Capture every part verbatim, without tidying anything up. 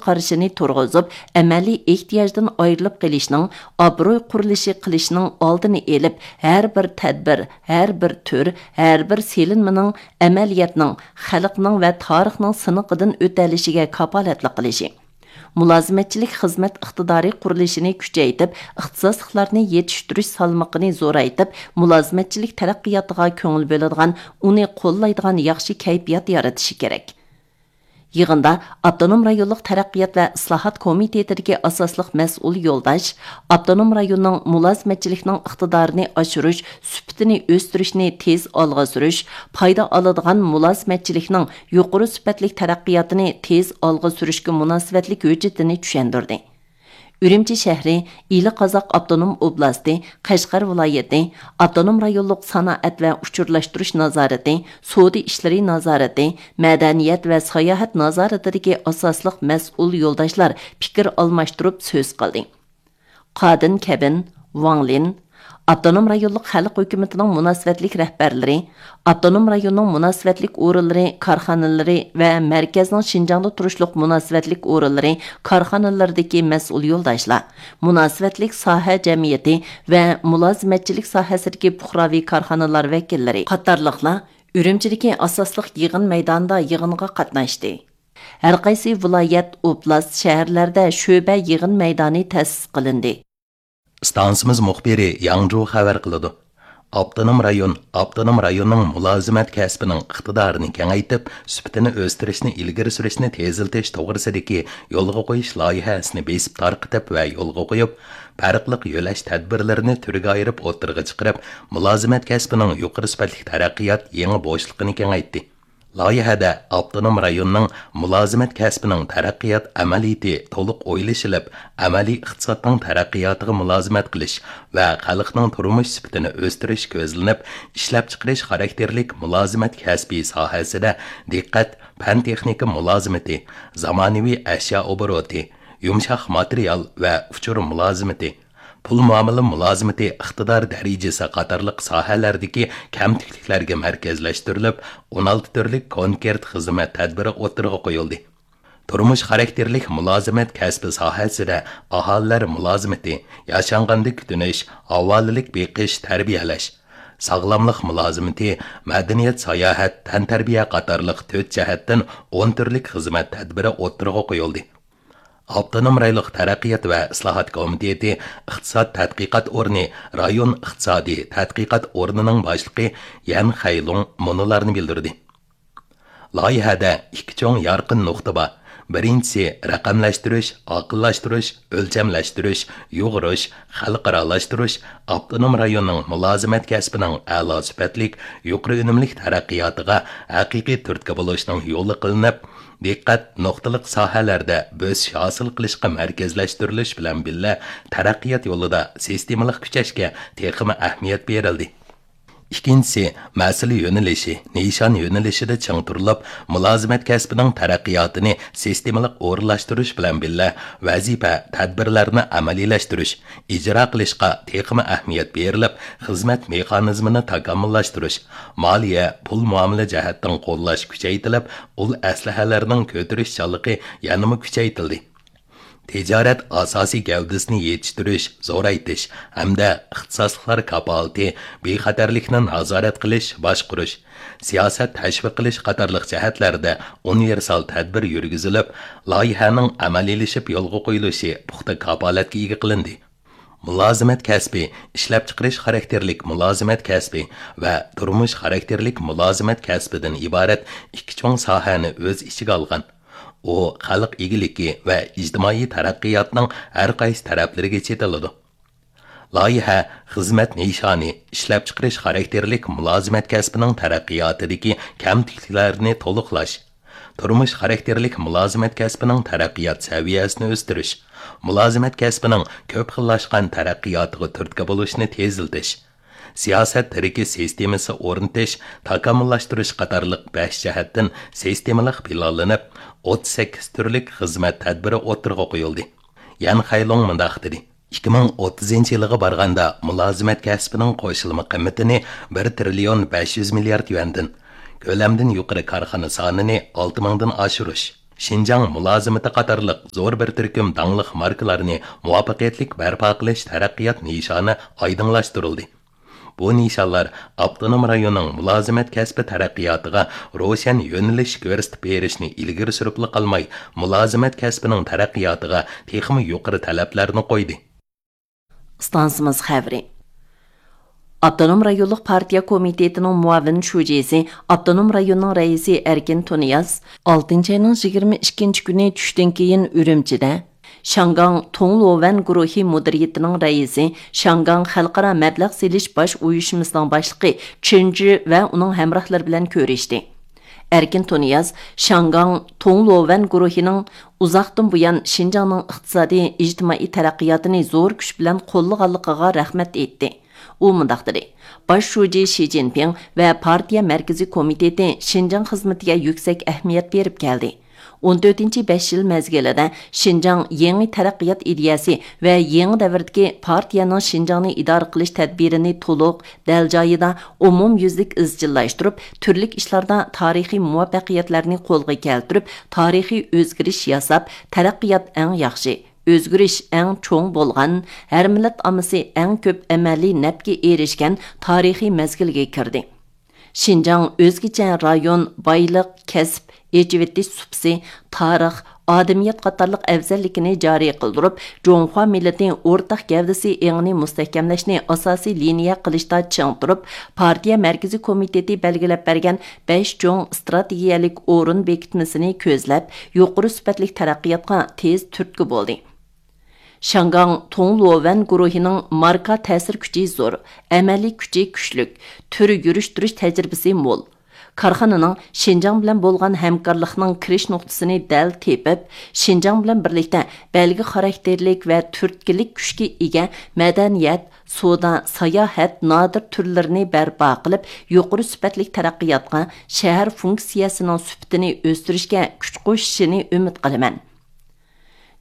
قارىشىنى تۇرغۇزۇپ، ئەمەلىي ئېھتىياجدىن ئايرىلىپ قېلىشنىڭ، ئابرۇي قۇرۇلۇشى قىلىشنىڭ ئالدىنى ئېلىپ، ھەر بىر تەدبىر، ھەر بىر تۈر، ھەر بىر سېلىنمىنىڭ ئەمەلىيەتنىڭ، خەلقنىڭ ۋە تارىخنىڭ سىنىقىدىن ئۆتەلىشىگە كاپالەتلىك قىلىشى. مۇلازىمەتچىلىك خىزمەت ئىقتىدارى قۇرۇلۇشىنى كۈچەيتىپ، ئىختىساسلىقلارنى يېتىشتۈرۈش سالمىقىنى زورايتىپ، مۇلازىمەتچىلىك تەرەققىياتىغا كۆڭۈل بۆلىدىغان، ئۇنى قوللايدىغان ياخشى كەيپىيات يارىتىشى كېرەك. يىغىندا ئاپتونوم رايونلۇق تەرەققىيات ۋە ئىسلاھات كومىتېتىدىكى ئاساسلىق مەسئۇل يولداش، ئاپتونوم رايوننىڭ مۇلازىمەتچىلىكنىڭ ئىقتىدارىنى ئاشۇرۇش، سۈپىتىنى ئۆستۈرۈشنى تېز ئالغا سۈرۈش، پايدا ئالىدىغان مۇلازىمەتچىلىكنىڭ يۇقىرى سۈپەتلىك تەرەققىياتىنى تېز ئالغا سۈرۈشكە مۇناسىۋەتلىك ھۆججىتىنى چۈشەندۈردى. ئۈرۈمچى شەھىرى، ئىلى قازاق ئاپتونوم ئوبلاستى، قەشقەر ۋىلايىتى، ئاپتونوم رايونلۇق سانائەت ۋە ئۇچۇرلاشتۇرۇش نازارىتى، سودا ئىشلىرى نازارىتى، مەدەنىيەت ۋە ساياھەت نازارىتىدىكى ئاساسلىق مەسئۇل يولداشلار پىكىر ئالماشتۇرۇپ سۆز قىلدى. قادىن كەبىن، ۋاڭ لىن، ئاپتونوم رايونلۇق خەلق ھۆكۈمىتىنىڭ مۇناسىۋەتلىك رەھبەرلىرى، ئاپتونوم رايوننىڭ مۇناسىۋەتلىك ئورۇنلىرى، كارخانىلىرى ۋە مەركەزنىڭ شىنجاڭدا تۇرۇشلۇق مۇناسىۋەتلىك ئورۇنلىرى، كارخانىلىرىدىكى مەسئۇل يولداشلار، مۇناسىۋەتلىك ساھە جەمئىيىتى ۋە مۇلازىمەتچىلىك ساھەسىدىكى پۇقراۋى كارخانىلار ۋەكىللىرى قاتارلىقلار ئۈرۈمچىدىكى ئاساسلىق يىغىن مەيدانىدا يىغىنغا قاتناشتى. ھەرقايسى ۋىلايەت، ئوبلاست، شەھەرلەردە شۆبە يىغىن مەيدانى تەسىس قىلىندى. ئىستانسىمىز مۇخبىرى ياڭجۇ خەۋەر قىلىدۇ. ئاپتونوم رايون، ئاپتونوم رايوننىڭ مۇلازىمەت كەسپىنىڭ ئىقتىدارىنى كېڭەيتىپ، سۈپىتىنى ئۆستۈرۈشنى ئىلگىرى سۈرۈشنى تېزلىتىش توغرىسىدىكى يولغا قويۇش لايىھەسىنى بېسىپ تارقىتىپ ۋە يولغا قويۇپ، پەرقلىق يۆلەش تەدبىرلىرىنى تۈرگە ئايرىپ ئوتتۇرىغا چىقىرىپ، مۇلازىمەت كەسپىنىڭ يۇقىرى سۈپەتلىك تەرەققىيات يېڭى بوشلۇقىنى كېڭەيتتى. لايىھەدە ئاپتونوم رايوننىڭ مۇلازىمەت كەسپىنىڭ تەرەققىيات ئەمەلىيىتى تولۇق ئويلىشىلىپ، ئەمەلىي ئىقتىسادنىڭ تەرەققىياتىغا مۇلازىمەت قىلىش ۋە خەلقنىڭ تۇرمۇش سۈپىتىنى ئۆستۈرۈش كۆزلىنىپ، ئىشلەپچىقىرىش خاراكتېرلىك مۇلازىمەت كەسپى ساھەسىدە دىققەت پەن-تېخنىكا مۇلازىمىتى، زامانىۋى ئەشيا ئوبوروتى، يۇمشاق ماتېرىيال ۋە ئۇچۇر مۇلازىمىتى، پۇل مۇئامىلە مۇلازىمىتى ئىقتىدار دەرىجىسى قاتارلىق ساھەلەردىكى كەمتۈكلۈكلەرگە مەركەزلەشتۈرۈلۈپ، ئون ئالتە تۈرلۈك كونكرېت خىزمەت تەدبىرى ئوتتۇرىغا قويۇلدى. تۇرمۇش خاراكتېرلىك مۇلازىمەت كەسپى ساھەسىدە ئاھالىلەر مۇلازىمىتى، ياشانغاندا كۈتۈنۈش، ھاۋالىلىك بېقىش، تەربىيەلەش، ساغلاملىق مۇلازىمىتى، مەدەنىيەت، ساياھەت، تەنتەربىيە قاتارلىق تۆت جەھەتتىن ئون تۈرلۈك خىزمەت تەدبىرى ئوتتۇرىغا قويۇلدى. ئاپتونوم رايونلۇق تەرەققىيات ۋە ئىسلاھات كومىتېتى ئىقتىساد تەتقىقات ئورنى رايون ئىقتىسادىي تەتقىقات ئورنىنىڭ باشلىقى يەن خەيلۇڭ مۇنۇلارنى بىلدۈردى. لايىھەدە ئىككى چوڭ يارقىن نۇقتا بار. بىرىنچىسى، رەقەملەشتۈرۈش، ئاقىللاشتۇرۇش، ئۆلچەملەشتۈرۈش، يۇغۇرۇش، خەلقئارالاشتۇرۇش، ئاپتونوم رايوننىڭ مۇلازىمەت كەسپىنىڭ ئەلا سۈپەتلىك، يۇقىرى ئۈنۈملۈك تەرەققىياتىغا ھەقىقىي تۈرتكە بولۇشنىڭ يولى قىلىنىپ، دىققەت نۇقتىلىق ساھەلەردە بۆسۈش ھاسىل قىلىشقا مەركەزلەشتۈرۈلۈش بىلەن بىللە، تەرەققىيات يولىدا سىستېمىلىق كۈچەشكە تېخىمۇ ئەھمىيەت بېرىلدى. ئىككىنچىسى، مەسىلە يۆنىلىشى، نىشان يۆنىلىشىدە چىڭ تۇرۇلۇپ، مۇلازىمەت كەسپىنىڭ تەرەققىياتىنى سىستېمىلىق ئورۇنلاشتۇرۇش بىلەن بىللە، ۋەزىپە، تەدبىرلەرنى ئەمەلىيلەشتۈرۈش، ئىجرا قىلىشقا تېخىمۇ ئەھمىيەت بېرىلىپ، خىزمەت مېخانىزمىنى تاكامۇللاشتۇرۇش، مالىيە، پۇل مۇئامىلە جەھەتتىن قوللاش كۈچەيتىلىپ، ئۇل ئەسلىھەلەرنىڭ كۆتۈرۈشچانلىقى يەنىمۇ كۈچەيتىلدى. تىجارەت ئاساسىي گەۋدىسىنى يېتىشتۈرۈش، زورايتىش ھەمدە ئىختىساسلىقلار كاپالىتى، بىخەتەرلىكنى نازارەت قىلىش، باشقۇرۇش، سىياسەت تەشۋىق قىلىش قاتارلىق جەھەتلەردە ئۇنىۋېرسال تەدبىر يۈرگۈزۈلۈپ، لايىھەنىڭ ئەمەلىيلىشىپ يولغا قويۇلۇشى پۇختا كاپالەتكە ئىگە قىلىندى. مۇلازىمەت كەسپى، ئىشلەپچىقىرىش خاراكتېرلىك مۇلازىمەت كەسپى ۋە تۇرمۇش خاراكتېرلىك مۇلازىمەت كەسپىدىن ئىبارەت ئىككى چوڭ ساھەنى ئۆز ئىچىگە ئالغان. ئۇ خەلق ئىگىلىكى ۋە ئىجتىمائىي تەرەققىياتنىڭ ھەر قايسى تەرەپلىرىگە چېتىلىدۇ. لايىھە خىزمەت نىشانى، ئىشلەپچىقىرىش خاراكتېرلىك مۇلازىمەت كەسپىنىڭ تەرەققىياتىدىكى كەمتۈكلۈكلەرنى تولۇقلاش، تۇرمۇش خاراكتېرلىك مۇلازىمەت كەسپىنىڭ تەرەققىيات سەۋىيەسىنى ئۆستۈرۈش، مۇلازىمەت كەسپىنىڭ كۆپ خىللاشقان تەرەققىياتىغا تۈرتكە بولۇشنى تېزلىتىش، سىياسەت تىرىكى سىستېمىسى ئورنىتىش، تاكامۇللاشتۇرۇش قاتارلىق بەش جەھەتتىن سىستېمىلىق پىلانلىنىپ، ئوتتۇز سەككىز تۈرلۈك خىزمەت تەدبىرى ئوتتۇرىغا قويۇلدى. يەن خەيلۇڭ مۇنداق دېدى، ئىككى مىڭ ئوتتۇزىنچى يىلىغا بارغاندا مۇلازىمەت كەسپىنىڭ قوشۇلما قىممىتىنى بىر تىرىليون بەش يۈز مىليارد يۈەندىن، كۆلەمدىن يۇقىرى كارخانا سانىنى ئالتە مىڭدىن ئاشۇرۇش، شىنجاڭ مۇلازىمىتى قاتارلىق زور بىر تۈركۈم داڭلىق ماركىلارنى مۇۋەپپەقىيەتلىك بەرپا قىلىش تەرەققىيات نىشانى ئايدىڭلاشتۇرۇلدى. بۇ نىشانلار ئاپتونوم رايوننىڭ مۇلازىمەت كەسپى تەرەققىياتىغا روشەن يۆنىلىش كۆرسىتىپ بېرىشنى ئىلگىرى سۈرۈپلا قالماي، مۇلازىمەت كەسپىنىڭ تەرەققىياتىغا تېخىمۇ يۇقىرى تەلەپلەرنى قويدى. ئىستانسىمىز خەۋىرى. ئاپتونوم رايونلۇق پارتىيە كومىتېتىنىڭ مۇئاۋىن شۇجىسى، ئاپتونوم رايوننىڭ رەئىسى ئەركىن تۇنىياز ئالتىنچى ئاينىڭ يىگىرمە ئىككىنچى كۈنى چۈشتىن كېيىن ئۈرۈمچىدە شياڭگاڭ توڭلۇۋەن گۇرۇھى مۇدىرىيىتىنىڭ رەئىسى، شياڭگاڭ خەلقئارا مەبلەغ سېلىش باش ئۇيۇشمىسىنىڭ باشلىقى چېن جى ۋە ئۇنىڭ ھەمراھلىرى بىلەن كۆرۈشتى. ئەركىن تۇنىياز شياڭگاڭ توڭلۇۋەن گۇرۇھىنىڭ ئۇزاقتىن بۇيان شىنجاڭنىڭ ئىقتىسادىي، ئىجتىمائىي تەرەققىياتىنى زور كۈچ بىلەن قوللىغانلىقىغا رەھمەت ئېيتتى. ئۇ مۇنداق دېدى، باش شۇجى شى جىنپىڭ ۋە پارتىيە مەركىزىي كومىتېتى شىنجاڭ خىزمىتىگە يۈكسەك ئەھمىيەت بېرىپ كەلدى. ئون تۆتىنچى بەش يىل مەزگىلىدە شىنجاڭ يېڭى تەرەققىيات ئىدىيەسى ۋە يېڭى دەۋردىكى پارتىيەنىڭ شىنجاڭنى ئىدارە قىلىش تەدبىرىنى تولۇق، دەل جايىدا، ئومۇميۈزلۈك ئىزچىللاشتۇرۇپ، تۈرلۈك ئىشلاردا تارىخىي مۇۋەپپەقىيەتلەرنى قولغا كەلتۈرۈپ، تارىخىي ئۆزگىرىش ياساپ، تەرەققىيات ئەڭ ياخشى، ئۆزگىرىش ئەڭ چوڭ بولغان، ھەر مىللەت ئاممىسى ئەڭ كۆپ ئەمەلىي نەپكە ئېرىشكەن تارىخىي مەزگىلگە كىردى. شىنجاڭ ئۆزگىچە رايون، بايلىق، كەسىپ، ئېچىۋېتىش سۇپىسى، تارىخ، ئادىمىيەت قاتارلىق ئەۋزەللىكىنى جارى قىلدۇرۇپ، جۇڭخۇا مىللىتى ئورتاق گەۋدىسى ئېڭىنى مۇستەھكەملەشنى ئاساسىي لىنىيە قىلىشتا چىڭ تۇرۇپ، پارتىيە مەركىزىي كومىتېتى بەلگىلەپ بەرگەن بەش چوڭ ئىستراتېگىيەلىك ئورۇن بېكىتمىسىنى كۆزلەپ، يۇقىرى سۈپەتلىك تەرەققىياتقا تېز تۈرتكە بولدى. شياڭگاڭ توڭلۇۋەن گۇرۇھىنىڭ ماركا تەسىر كۈچى زور، ئەمەلىي كۈچى كۈچلۈك، تۈر يۈرۈشتۈرۈش تەجرىبىسى مول. كارخانىنىڭ شىنجاڭ بىلەن بولغان ھەمكارلىقنىڭ كىرىش نۇقتىسىنى دەل تېپىپ، شىنجاڭ بىلەن بىرلىكتە بەلگە خاراكتېرلىك ۋە تۈرتكىلىك كۈچكە ئىگە مەدەنىيەت، سودا، ساياھەت نادىر تۈرلىرىنى بەرپا قىلىپ، يۇقىرى سۈپەتلىك تەرەققىياتقا، شەھەر فۇنكسىيەسىنىڭ سۈپىتىنى ئۆستۈرۈشكە كۈچ قوشۇشىنى ئۈمىد قىلىمەن.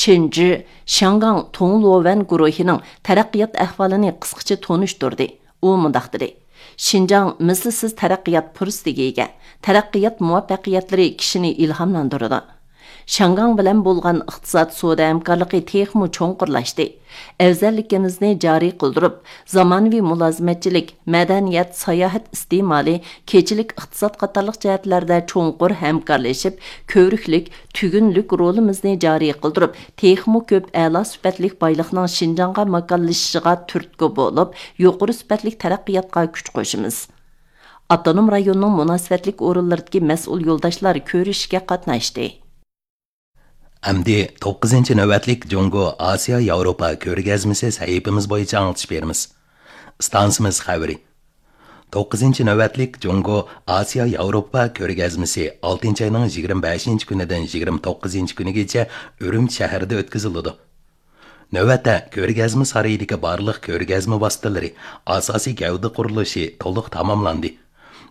چېن جى شياڭگاڭ توڭلۇۋەن گۇرۇھىنىڭ تەرەققىيات ئەھۋالىنى قىسقىچە تونۇشتۇردى. ئۇ مۇنداق دېدى، شىنجاڭ مىسلىسىز تەرەققىيات پۇرسىتىگە ئىگە. تەرەققىيات مۇۋەپپەقىيەتلىرى كىشىنى ئىلھاملاندۇرىدۇ. شياڭگاڭ بىلەن بولغان ئىقتىساد سودا ھەمكارلىقى تېخىمۇ چوڭقۇرلاشتى. ئەۋزەللىكىمىزنى جارى قىلدۇرۇپ، زامانىۋى مۇلازىمەتچىلىك، مەدەنىيەت، ساياھەت ئىستېمالى، كېچىلىك ئىقتىساد قاتارلىق جەھەتلەردە چوڭقۇر ھەمكارلىشىپ، كۆۋرۈكلۈك، تۈگۈنلۈك رولىمىزنى جارى قىلدۇرۇپ، تېخىمۇ كۆپ ئەلا سۈپەتلىك بايلىقنىڭ شىنجاڭغا ماكانلىشىشىغا تۈرتكە بولۇپ، يۇقىرى سۈپەتلىك تەرەققىياتقا كۈچ قوشىمىز. ئاپتونوم رايوننىڭ مۇناسىۋەتلىك ئورۇنلىرىدىكى مەسئۇل يولداشلار كۆرۈشۈشكە قاتناشتى. ئەمدى توققۇزىنچى نۆۋەتلىك جۇڭگو ئاسىيا ياۋروپا كۆرگەزمىسى سەھىپىمىز بويىچە ئاڭلىتىش بېرىمىز. ئىستانسىمىز خەۋىرى. توققۇزىنچى نۆۋەتلىك جۇڭگو ئاسىيا ياۋروپا كۆرگەزمىسى ئالتىنچى ئاينىڭ يىگىرمە بەشىنچى كۈنىدىن يىگىرمە توققۇزىنچى كۈنىگىچە ئۈرۈمچى شەھىرىدە ئۆتكۈزۈلىدۇ. نۆۋەتتە، كۆرگەزمە سارىيىدىكى بارلىق كۆرگەزمە ۋاسىتىلىرى، ئاساسىي گەۋدە قۇرۇلۇشى تولۇق تاماملاندى.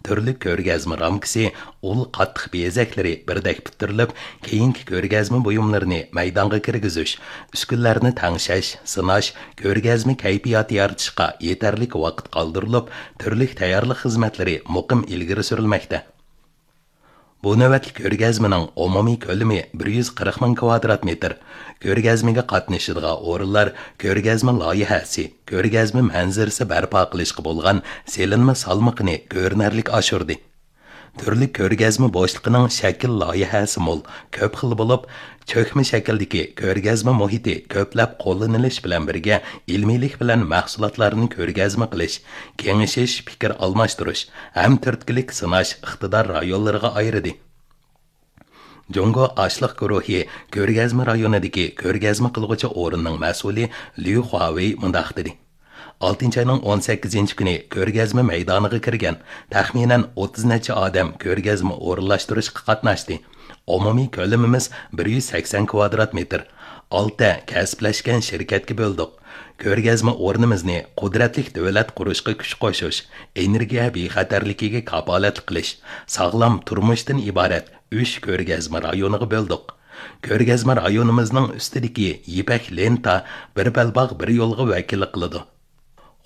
تۈرلۈك كۆرگەزمە رامكىسى، ئۇل قاتتىق بېزەكلىرى بىردەك پۈتتۈرۈلۈپ، كېيىنكى كۆرگەزمە بۇيۇملىرىنى مەيدانغا كىرگۈزۈش، ئۈسكۈنىلەرنى تەڭشەش، سىناش، كۆرگەزمە كەيپىياتى يارىتىشقا يېتەرلىك ۋاقىت قالدۇرۇلۇپ، تۈرلۈك تەييارلىق خىزمەتلىرى مۇقىم ئىلگىرى سۈرۈلمەكتە. بۇ نۆۋەتلىك كۆرگەزمىنىڭ ئومۇمىي كۆلىمى بىر يۈز قىرىق مىڭ كىۋادرات مېتىر. كۆرگەزمىگە قاتنىشىدىغان ئورۇنلار كۆرگەزمە لايىھەسى، كۆرگەزمە مەنزىرىسى بەرپا قىلىشقا بولغان سېلىنما سالمىقىنى كۆرۈنەرلىك ئاشۇردى. تۈرلۈك كۆرگەزمە بوشلۇقىنىڭ شەكىل لايىھەسى مول، كۆپ خىل بولۇپ، چۆكمە شەكىلدىكى كۆرگەزمە مۇھىتى كۆپلەپ قوللىنىلىش بىلەن بىرگە، ئىلمىيلىك بىلەن مەھسۇلاتلارنى كۆرگەزمە قىلىش، كېڭىشىش، پىكىر ئالماشتۇرۇش ھەم تۈرتكىلىك سىناش ئىقتىدار رايونلىرىغا ئايرىدى. جۇڭگو ئاشلىق گۇرۇھى كۆرگەزمە رايونىدىكى كۆرگەزمە قىلغۇچى ئورۇننىڭ مەسئۇلى ليۇ خۇاۋېي مۇنداق دېدى. ئالتىنچى ئاينىڭ ئون سەككىزىنچى كۈنى كۆرگەزمە مەيدانىغا كىرگەن تەخمىنەن ئوتتۇز نەچچە ئادەم كۆرگەزمە ئورۇنلاشتۇرۇشقا قاتناشتى. ئومۇمىي كۆلىمىمىز بىر يۈز سەكسەن كىۋادرات مېتىر. ئالتە كەسىپلەشكەن شىركەتكە بۆلدۇق. كۆرگەزمە ئورنىمىزنى قۇدرەتلىك دۆلەت قۇرۇشقا كۈچ قوشۇش، ئېنېرگىيە بىخەتەرلىكىگە كاپالەتلىك قىلىش، ساغلام تۇرمۇشتىن ئىبارەت ئۈچ كۆرگەزمە رايونىغا بۆلدۇق. كۆرگەزمە رايونىمىزنىڭ ئۈستىدىكى يىپەك لېنتا بىر بەلباغ، بىر يولغا ۋەكىللىك قىلىدۇ.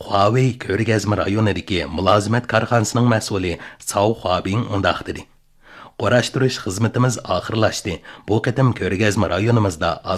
خۇاۋېي كۆرگەزمە رايونىدىكى مۇلازىمەت كارخانىسىنىڭ مەسئۇلى ساۋ خۇابىڭ مۇنداق دېدى: قۇراشتۇرۇش خىزمىتىمىز ئاخىرلاشتى. بۇ قېتىم كۆرگەزمە رايونىمىزدا ئاز